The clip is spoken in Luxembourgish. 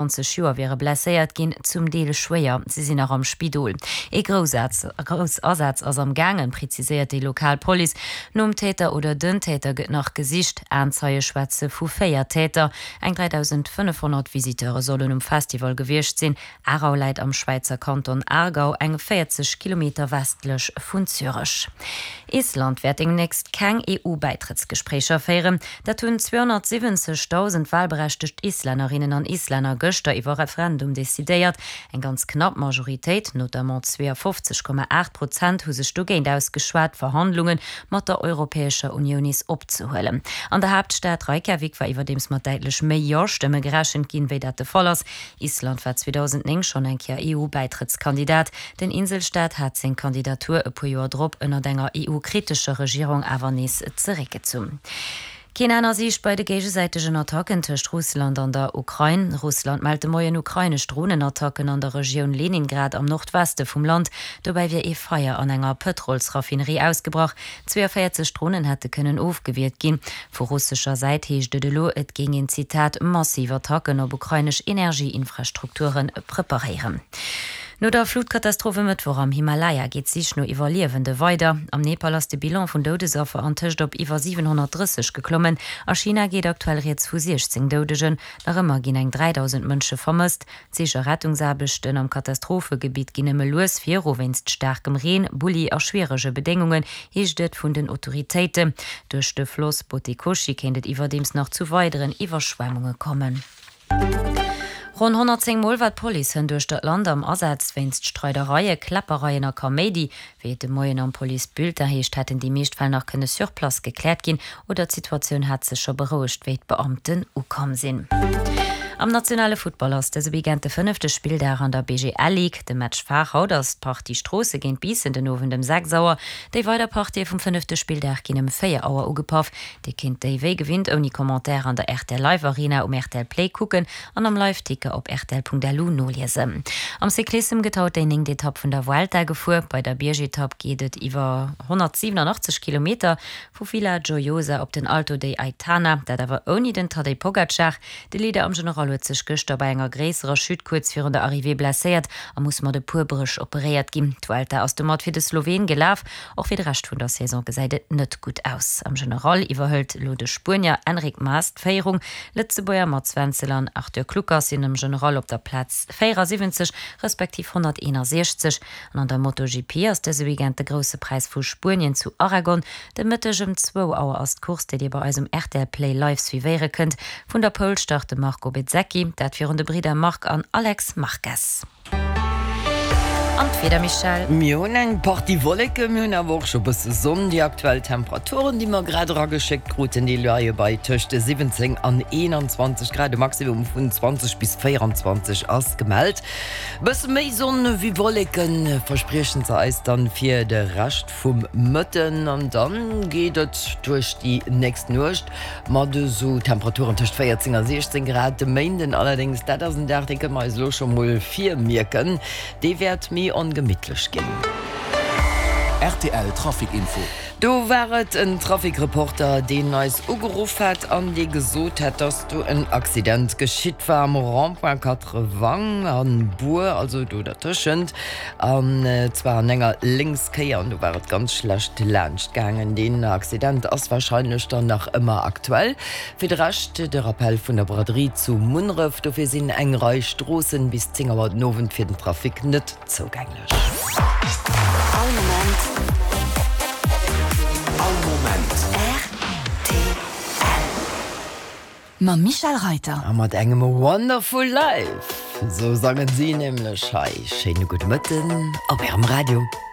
20 Joer wiere blesséiert ginn, zum Deel schwéier. Si sinn nach am Spidol. Ee Groussasaz ass am gaangen, preziséiert déi lokal Police. Nom Täter oder den Täter gëtt nach gesicht. Aenzeie schwätze vu 4 Täter. Eng 3.500 Visiteure sollen um Festival gewiescht sinn. Aarau läit am Schwäizer Kanton Aargau, eng 40 Kilometer westlech vun Zürech. Island wäert demnächst keng EU-Bäitrëttsgespréicher féieren. Dat hunn 270.000 walberechtegt Islännerinnen an Islänner gëschter iwwer Referendum decidéiert. Eng ganz knapp Majoritéit, notamment 52,8 Prozent, hu sech dogéint ausgeschwat, d'Verhandlunge mat der Europäescher Unioun nees opzehuelen. An der Haaptstad Reykjavik war iwwerdeems mat däitlech méi Jo-Stëmme gerechent ginn, wéi dat de Fall ass. Island war 2009 schonn eng Kéier EU-Bäitrëttskandidat. Den Inselstaat hat seng Kandidatur e puer Joer drop ënnert enger EU-kritescher Regierung awer nees zeréckgezunn. Keen Enn a Siicht bei de géigesäitegen Attacken tëscht Russland an der Ukrain. Russland mellt de Moien ukrainesch Dronenattacken an der Regioun Leningrad am Nordweste vum Land. Dobäi wier ee Feier an enger Pëtrolsraffinerie ausgebrach. 42 Dronen hätte kënnen ofgewiert ginn. Vu russescher Säit heescht et elo, et géing een, Zitat, massiv Attacken op ukrainesch Energieinfrastrukture preparéieren. No der Flutkatastroph e Mëttwoch am Himalaya geet d'Sich no Iwwerliewende weider. Am Nepal ass de Bilan vun Doudesaffer antëscht op iwwer 730 geklommen. A China geet aktuell rieds vu 16 Doudegen. Nach ëmmer ginn eng 3.000 Mënsche vermësst. D'Sich a Rettungsaarbechten am Katastrophegebitt ginn nëmme lues viru wéinst staarkem Reen, Bulli a schwierege Bedéngungen, heescht et vun den Autoritéiten. Duerch de Floss Botekoshi kéint et iwwerdeems nach zu weideren Iwwerschwemmunge kommen. Ronn 110 Mol war d'Police hënt uechter d'Land am Asaz wéinst Streidereie, Kläppereien a Kaméidi. Wéi et de Moien am Police-Bulletin heescht, hätten déi meescht Fäll nach kënne sur place gekläert ginn oder d'Situatioun hat sech scho berouegt, wéi d'Beamten ukomm sinn. Am nationale Futtball ass dëse Weekend de fënnefte Spilldag an der BGL Ligue. De Match phare haut ass d'Partie Stroosse géint Biissen den Owend ëm 6 Auer. Déi weider Partië vum fënnefte Spilldag ginn ëm 4 Auer ugepaff. Dir kinnt déi wéi gewinnt ouni Commentaire an der rtl Live Arena um rtl Play kucken an am Liveticker op rtl.lu noliesen. Am Cyclissem gëtt haut déi néngt Etapp vun der Vuelta gefuer. Bei der Biergetapp geet et iwwer 187 Kilometer vu Villajoyosa op den Alto de Aitana, dat awer ouni den Tadej Pogacar. De Leader am General huet sech gëschter bei enger gréisserer Chute kuerz virun der Arrivée blesséiert a muss mat e puer Bréch operéiert ginn. D'Vuelta ass domat fir de Sloween gelaf. Och fir de Rescht vun der Saison gesäit et net gutt aus. Am General iwwerhëlt elo de Spuenier Enric Mas d'Féierung. Lëtzebuerger Mats Wenzel an Arthur Kluckers sinn am General op der Plaz 74 respektiv 161. An an der MotoGP ass dëse Weekend de Grousse Präis vu Spuenien zu Aragon. De Mëtteg ëm zwou Auer ass d'Course, déi Dir bei eis um rtl Play live suivéiere kënnt. Vun der Pole start de Marco Bezzecchi, dat virun de Bridder Marc an Alex Marquez. An d'Wieder, Michèle? Mir hunn eng Partie Wolleken, mir hunn awer och scho bësse Sonn. Déi aktuell Temperaturen, déi mer grad erageschéckt kruten, déi leie bei tëscht 17 an 21 Grad. E Maximum vun 20 bis 24 ass gemellt. Bësse méi Sonn wéi Wolleke verspriechen se eis dann fir de Rescht vum Mëtten. An dann geet et duerch déi nächst Nuecht Mat esou Temperaturen tëscht 14 a 16 Grad. De Méinden allerdéngs, dat ass en Dag, dee kënne mer eis elo scho mol virmierken, dee wäert méi ongemittlech ginn. Rtl Trafic Info. Do war et en Trafic-Reporter, deen eis ugeruff hat an dee gesot hat, dass do en Accident geschitt war am Rond-point Quatre-Vents a Buer, also do dertëschent. An zwar an enger Lénkskéier, an do war et ganz schlecht laanscht gaangen. Deen Accident ass warscheinlech dann nach ëmmer aktuell. Fir de Rescht de Rappel vun der Braderie zu Munneref, dofir sinn eng Rei Stroossen bis 10 Auer den Owend fir den Trafic net zougänglech. All Moment. All Moment. Rtl. Mam Michel Reiter. A mat engem Wonderful Life, sou sangen si nämlech hei. Schéine gudde Mëtten op Ärem Radio.